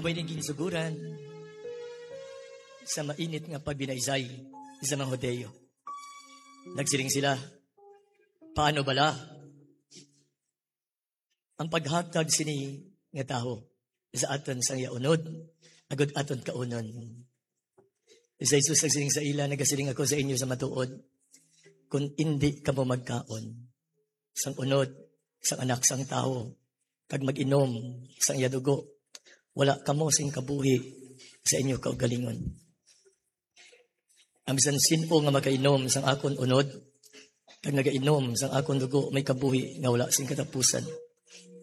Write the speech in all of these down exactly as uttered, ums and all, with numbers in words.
May naging suguran sa mainit nga pagbinaysay sa mga Hudiyo. Nagsiling sila, "Paano bala ang paghatag sini nga tawo sa aton sang iya unod, agod aton kaunon?" Si Jesus nagsiling sa ila, "Nagasiling ako sa inyo sa matuod, kun indi kamo magkaon sang unod sang Anak sang Tawo kag mag-inom sang iya dugo, wala kamo sing kabuhi sa inyo kaugalingon. Ang bisan sin-o nga magainom sang akon unod kag nagainom sang akon dugo may kabuhi nga wala sing katapusan,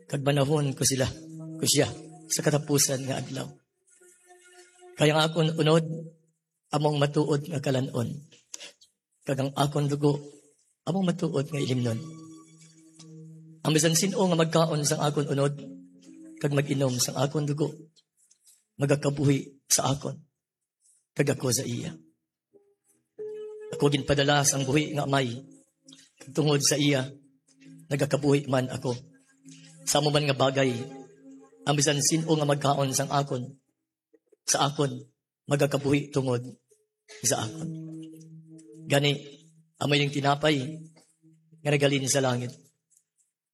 kag manahon ko sila, ko siya, sa katapusan nga adlaw. Kay ang akon unod amo ang matuod nga kalan-on, kag ang akon dugo amo ang matuod nga ilimnon. Ang bisan sin-o nga magkaon sang akon unod kag mag-inom sang akon dugo magakabuhi sa akon, kag ako sa iya. Ako ginpadala sang buhi nga Amay, kag tungod sa iya nagakabuhi man ako. Sa amo man nga bagay, ang bisan sin-o nga magkaon sang akon, sa akon, magakabuhi tungod sa akon. Gani, amo ining tinapay nga naghalin sa langit.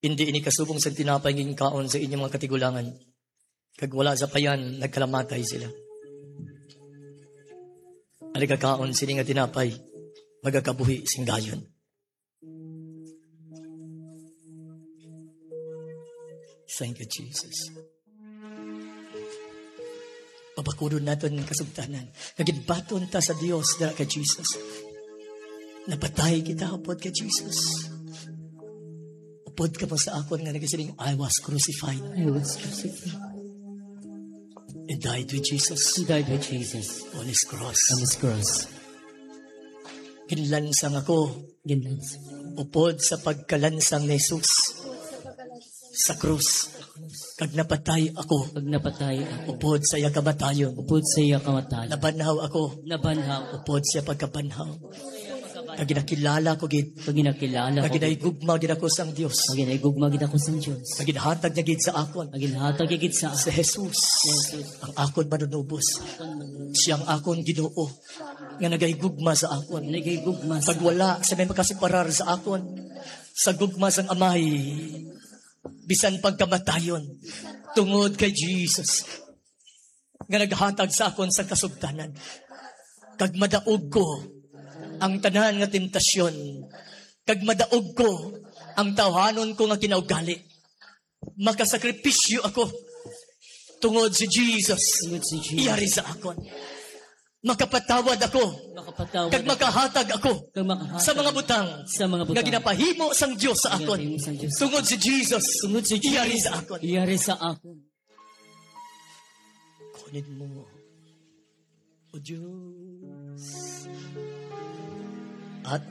Indi ini kasubong sang tinapay nga ginkaon sa inyong mga katigulangan, kag wala sa payan nagkalamatay sila. Ang nagakaon sini nga tinapay magakabuhi sing dayon." Thank you, Jesus. Pabakudon naton ang kasugtanan nga ginbaton ta sa Dios dira kay Jesus. Napatay kita upod kay Jesus. Upod kamo sa akon nga nagasiling, "I was crucified." I was crucified. And died with Jesus. He died with Jesus on his cross. On his cross. Ginlansang ako. Ginlansang. Upod sa pagkalansang ni Jesus sa krus. Kag napatay ako. Kag napatay ako. Upod sa iya kamatayon. Upod sa iya kamatayon. Nabanhaw ako. Nabanhaw. Upod sa iya pagkabanhaw. Kag ginakilala ko gid. Kag ginakilala ko gid. Kag ginahigugma gid ako sang Dios. Kag ginahigugma gid ako sang Dios. Kag ginhatag niya gid sa akon. Kag ginhatag niya gid sa akon. Si Jesus. Si Jesus. Ang akon manunubos. Ang akon manunubos. Siya ang akon Ginoo. Nga nagahigugma sa akon. Nagahigugma sa akon. Kag wala sa may makasiparar sa akon sa gugma sang Amay, bisan pagkamatayon, tungod kay Jesus, nga naghatag sa akon sang kasugtanan. Kag madaog ko ang tanan nga temptasyon, kag madaog ko ang tawhanon ko nga kinaugali. Makasakripisyo ako tungod si Jesus. Tungod si Jesus. Iyari sa akon. Makapatawad ako. Makapatawad Kag ako. Makahatag ako Kag makahatag sa mga butang sa mga butang nga ginapahimo sang Dios sa akon. Ginapahimo sang Dios sa Tungod akon. Si Jesus. Tungod si Jesus. Iyari sa akon. Iyari sa akon. Kunin mo, O Diyos, at